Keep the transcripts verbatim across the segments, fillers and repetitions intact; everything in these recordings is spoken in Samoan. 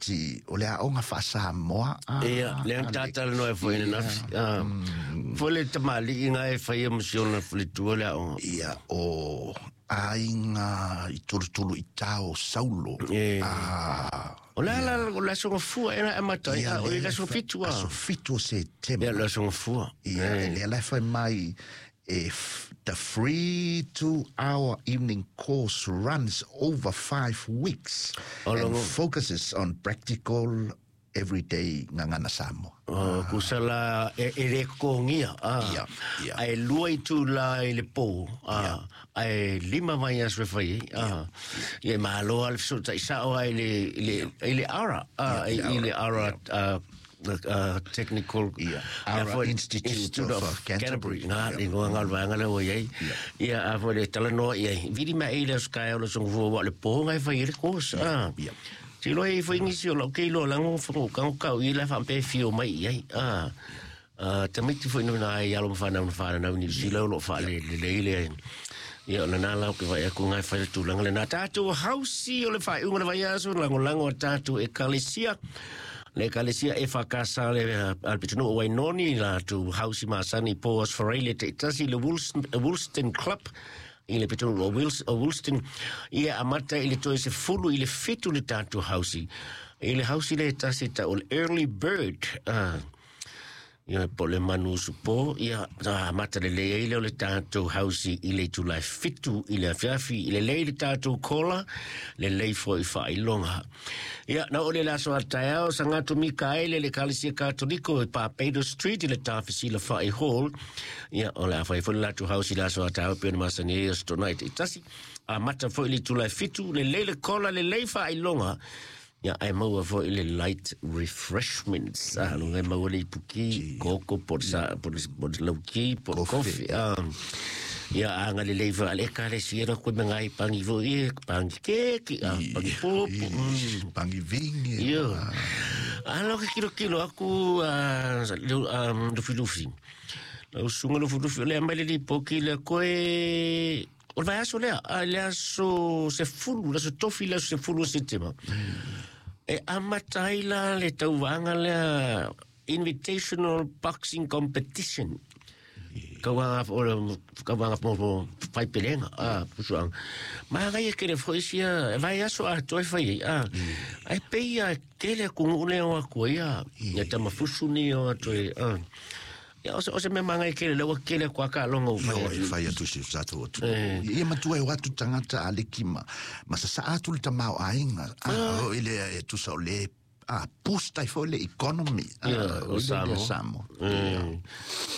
tamaiti o le aoga faa-Samoa. Ia, lea na tatalanoa ai foi ananafi. Ah, foi le tamaliiga e faia ma si ona faletua le aoga. Ia, o aiga i tulutulu i tao Saulo. E. Ah, O le ala o le aso gafua e na amata ai, ia, o le lea aso fa- fitu a. Aso fitu o Setema. Ia, le aso gafua. Ia, Eh. lea la e fai mai if the free two-hour evening course runs over five weeks O and longo. focuses on practical everyday gagana Samoa. O, kusa la e, e le kokogia. Ah. Ia, ia. Ae lua itulā i le pō. Ah. Ae lima vaiaso e fai ai. Ah. Ia e malo lava le fesootai sao ai le, i le, i le ARA. Ah, Ia, i, i le ARA, ah, uh, Technical Ia, Ah, ARA foi- Institute of, uh, Canterbury. Canterbury. Nga, Ia. le igoa nga o le vaega lea ua i ai. Ia, a foi le talanoa i ai. Vili mai ai le aso taeao le aso gafua ua o le pō nga e fai ai le course. Ah. Ia. Tilo e foi nisi o lau ke iloa lago fagaukago kau i la faapea e fio mai i ai. Ah. Ah, tamaiti foi na ai alo ma whanau na whanau ni sila o lo whaale le le le ia o lena lau ke vai aku ngai whai tūlanga le nā tātou hausi o le whaiunga le vaiaso langolango a tātou ekalesia le ekalesia e whakasa le alpitunu o Wainoni la tu hausi masani po Osferai le te tasi le Woolston, Woolston Club i le pitunu o Wils, o Woolston ia amata i le toe se fulu i le fitu le tātou hausi i le hausi le tasi ta o le early bird ah. Ia po le manu usupo, ia amata lelei ai lea o le tatou hausi i le itulā e fitu i le afiafi, i lelei le tatou kola, lelei foi faailoga. Ia, na oo le le aso a taeao, Sagato Mikaele le Ekalesia Katoliko i Barbados Street i le Tafesilafa'i Hall. Ia, o le a fai foi le latou hausi i le aso a taeao pei ona masani ai Aso Toonai taitasi. Amata foi i le itulā e fitu, lelei le kola, lelei faailoga. Ia, ae maua foi le light refreshments. Ah, luga e maua le ipuki, koko, po le sa, po le, po le lauki, po le kofi. Ah, ia, agalelei foi ale ekalesia na koe me ngai pangi foi, e, pangi keki, ah, pangi popo. Mm. Pangi vingi. Ia. Alo ke kilokilo aku, ah, lu- ah, lufilufi. Lau susuga lufilufi o lea mai le lipoki lea koe o le vaiaso lea, a le aso sefulu, le aso tofi le aso sefulu o Setema. E amata ai la le tauvaga lea Invitational Boxing Competition. Kauaga o le kauaga mo mo faipelega a pusuaga. Magaia kele foi sia vaiaso atoa e fai ai a. Ae pei a tele atunuu lea o atu ai a. Ia tamafusu ni o atu ai a. Ia o se o se mea magaia kele lea ua kele atu a taaloga ua fai Io atu. e fai atu si o tatou atu. Ia matua e o atu tagata a leki ma, ma sasaa atu le tamaoaiga. Ah, o ile e tusa o le ah, boost ai foi le economy. Ah, Ia, o o ile Samoa. Samoa. Mm.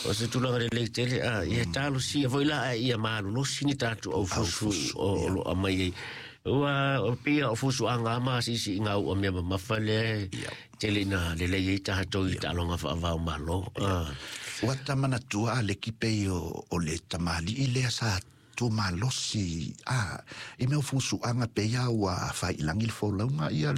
O se tulaga lelei tele, a, ia talosia foi la ae ia malolosi ni tatou aufusu o o loo aumai ai. Ua o pia o fusuaga ma asiisiiga u'a mea mamafa lea Ia. tele ina lelei ai tatou i taaloga faavao malo. Ah. Ua ta manatua a leki pei o, o le tamalii lea sa tumalosi ah, i mea o fusuaga pei a ua faailangi le folauga ia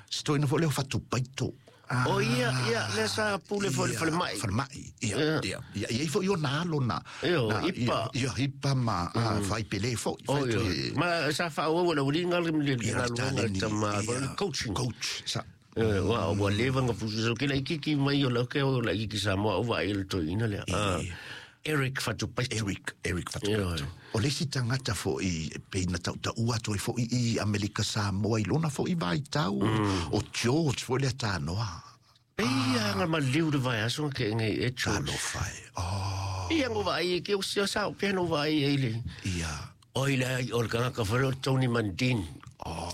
se toeaina foi lea o Fatupaito. Ah, O ia, ia, lea sa pule foi le ia, falemai. Falemai, ia, Ia. ia, ia, ia i foi ona alo na. Io, na, ipa. Ia, ia, ipa ma ah, faipele foi. O fai ia. toe- Ma sa faaauau e le auliga le le Ia, galuega le taleni, tama ia, coaching. Coach, sa. Eh, ua ua leva na fusu sau ke laitiiti mai o lau ke o laitiiti Samoa o vaai i le toeaina lea. Ah, Eric Fatupaito. Eric, Eric Fatupaito. Ioe. O le isi tagata foi pei na tautaua atu ai foi i Amerika Samoa i lona foi vaitau o George foi lea tanoa. Pei a nga maliu le vaiaso nga ke'ega i e George. Talofa e. Oh, Ia ngo vaai e ke o sia sao pea no vaai ai le. ia. Oi le ai o le tagata foi lea o Tony Mundine. Oh.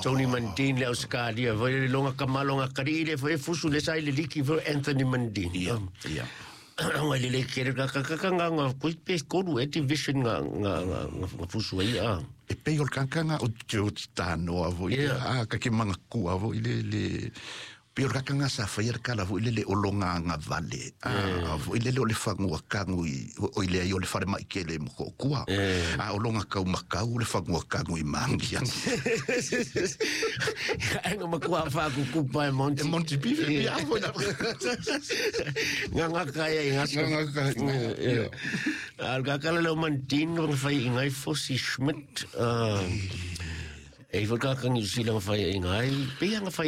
Tony Mundine le Ausekalia foi le loga kamaloga kali'i le foi e fusu le sa i le liki foi Anthony Mundine. Ia, ia. Nga le le kele ka ka ka ka nga nga kui pe kolu e division nga nga nga nga fusu ai a. E pei o le kakanga o George tanoa foi. Ia. Ah, ka ke mangakua foi le le pei o le kakanga sa faia le kala foi le le o longa agavale. Ah, foi le le o le fagua kagu i o i le ai o le falemai kele mo ko'okua. Ah, o longa kaumakau le fagua kagu i maagi. Ai nga makua whaakukupa e Monty. E Monty Pive, pia foi na. Nga nga kaya i ngasa. Nga nga kaya, Ia. Al kakala leo Mandin nga whai i ngai Fosi Schmidt. Ah, E foi kakangi usila nga whai i ngai. Pea nga whai